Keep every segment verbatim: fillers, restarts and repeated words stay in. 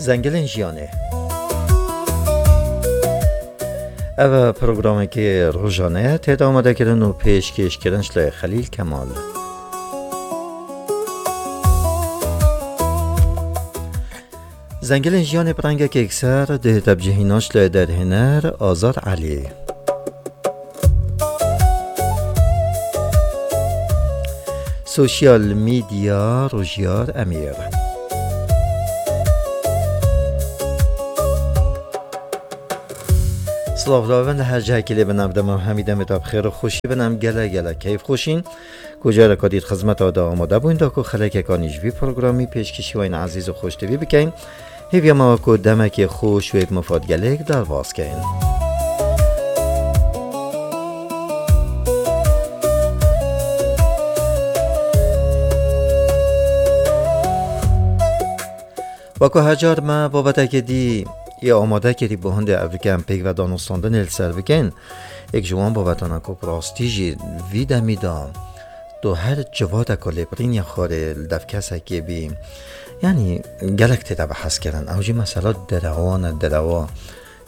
Zengilên jiyanê. Ev programekê rojane ye, tê de amadekirin û pêşkêşkirin ji lê Xelîl Kemal. Zengilên jiyanê bi rengekê yekser dihête bi cihî naş lê derhêner Azad Elî. Sosyal medya Rojiyar Emîr. Silav lavin li her cihekî lê bin, ev dema hemî demê te bi xêr û xweşî bin, em gelek gelek keyf xweşîn. Ku careka dît xizmeta de amade bûn da ku xelekeka nî ji vî programî pêşkêşî we yên ezîz û xweştevî bikeyn. Hêviya me ku demekê xweş wê bi mifad gelêk derbas keyn. Weko her car me babetekê dî yê amade kirî bo hindê evrike em pêk ve danûstandinê li ser bikin. Yek ji wan babetana ku bi rastî jî vî demî de tu her civateka lêbirîniya xwarê li dev kesekê bî, yanî gelek tê de bihezkirin. Ew jî mesela derewan e, derewa.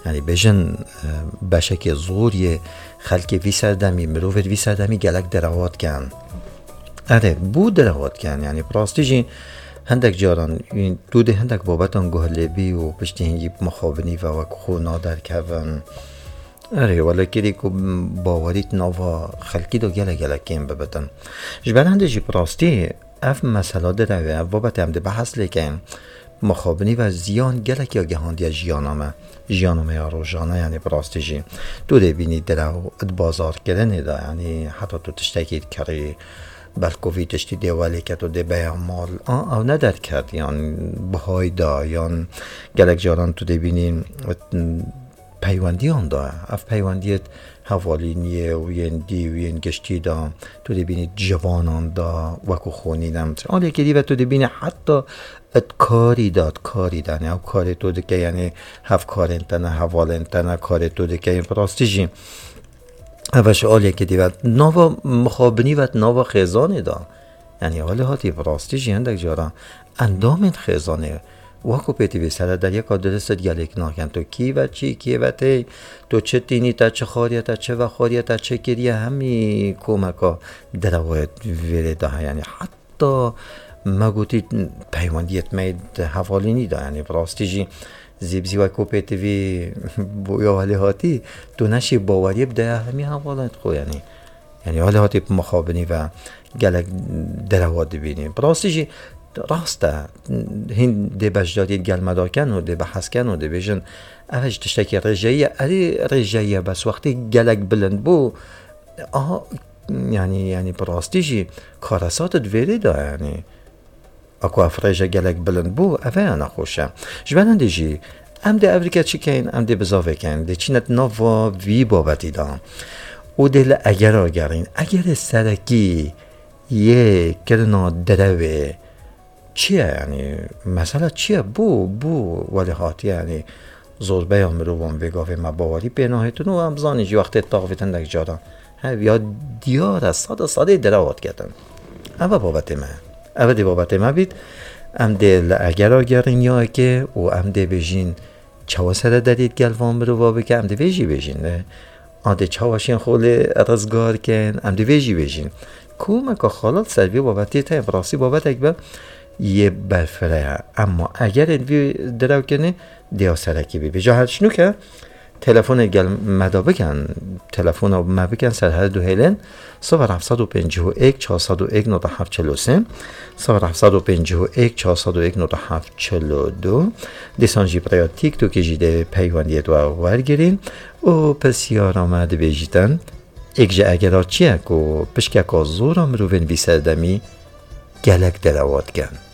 Yanî bêjin, e, beşekê zor yê xelkê vî serdemî, mirovê vî serdemî gelek derewa dikin. Erê, bû derewa dikin. Yanî bi rastî jî hindek caran, tu dê hindek babetan guh lê bî û piştî hingî bi mixabinî ve wek xwe naderkevin. Erê, wele kirî ku bawerî di nava xelkî de gelek gelek kêm bibitin. Ji ber hindê jî bi rastî ev mesela derewê, ev babetê em dê behs lê keyin. Mixabinî ve ziyan gelek ya gihandiye jiyana me. Jiyana me ya rojane, yanî bi rastî jî. Tu dê bînî derew di bazarkirinê de, yanî heta tu tiştekî dikerî, belko vî tiştî dê welê ke tu dê beya mal. A, ew ne derket, yan bihayda, yan gelek caran tu dê bînî, peywendiyan de. Ev peywendiyê hevalîniyê û yên dî û yên giştî de, tu dê bînî civanan de, wekû xwe nîne. Aliyekê dî ve tu dê bînî heta di karî de, di karî de, yanî ew karê tu dike, yanî hevkarên te ne, hevalên te ne, karê tu dike, yên bi rastî jî. Ev e ji aliyekê dî ve. Nava mixabinî ve, nava xêzanê de. Yanî, welê hatî bi rastî jî hindek caran endamên xêzanê, wekû pêtivî serederiyeka dirist gelêk nakin. Tu kî ve çî, kî ve tê, tu çi tînî te, çi xwariye te, çi vexwariye te, çi kiriye, hemî komeka derewayê vêrê de heye. Yanî, heta me gotî peywendiyê me di hevalînî de. Yanî, bi rastî jî zîbzî wekû pêtivî bûya welê hatî, tu neşî baweriyê bide ya hemî hevalên xwe, yanî. Yanî, alî hatî bi mixabinî ve gelek derewa dibînî. Bi rastî jî rast e. Hîn dê beşdariyê gel me daken û dê behs ken û dê bêjin, ev ji tiştekî rêjeyî ye. Erê, rêjeyî ye, bes wextê gelek bilind bû, aha, yanî, yanî bi rastî jî karesat di vêrê de, yanî. Ako ev rêje gelek bilind bû, ev ya nexweş e. Ji ber hindê jî, em dê evrike çi keyin, em dê bizavê keyin, dê çîne di nava vî babetî de. Û dê li egera gerîn. Egerê serekî yê kirina derewê çi ye, yanî, mesela çi ye? Bû, bû welê hatiye, yanî, zorbeya mirovan vê gavê me bawerî pê nahêtin û em zanîn jî wextê taxivîtin hindek caran. Hev ya diyar e, sade sadê derewa diketin. Ev e babetê me. Ev e dê babetê me bît. Em dê li egera gerîn ya eke û em dê bêjîn çawa serederî digel van mirova bike, em dê vê jî bêjîn. Ne? A dê çawa şên xwe lê rizgar kin, em dê vê jî bêjîn. Komeka xala li ser vê babetê te bi rastî babetek be yê berfireh e. Emma egerê vî derew kirinê, dê ya serekî bî. Vêca her çinûke, telefonê gel me da bikin, telefona me bikin ser her du hêlên, sifir heft sed û pêncî û yek, çar sed û yek, nota heft çil û sê, sifir heft sed û pêncî û yek, çar sed û yek, nota heft çil û du. Dîsan jî bi rêya TikTokê jî dê peywendiyê we wergirîn û pirsyara me dibêjîtin, yek ji egera çi ye ku pişkeka zor a mirovên vî serdemî gelek derewa dikin?